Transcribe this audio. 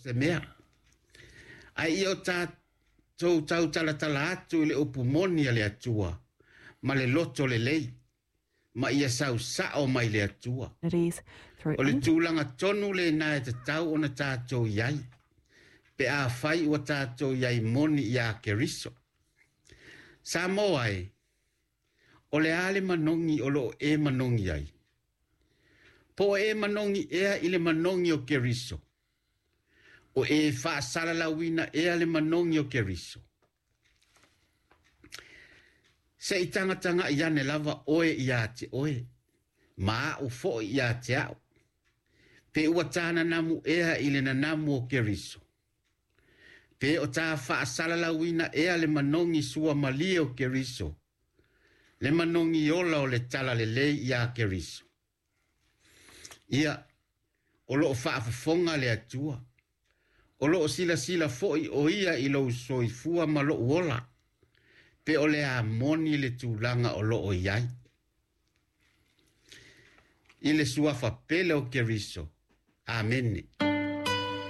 Se mea. Ae ia o tatou tautalatala atu i le upu moni a le Atua ma le loto lelei, ma ia sau sao mai le Atua. O le tulaga tonu lena e tatau ona tatou i ai, pe afai ua tatou i ai moni iā Keriso. Samoa e, o le a le manogi o lo o e manogi ai? Po o e manogi ea i le manogi o Keriso? O e faasalalauina ea le manogi o Keriso? Se i tagatagai ane lava oe ia te oe, ma a'u foi ia te a'u, pe ua ta nanamu ea i le nanamu o Keriso? Pe o ta faasalalauina ea le manogi suamalie o Keriso, le manogi ola o le talalelei iā Keriso? Ia, o loo faafofoga le Atua, o loo silasila foi o ia i lou soifua ma lou ola, pe o le a moni le tulaga o loo i ai. I le suafa pele o Keriso. Amene.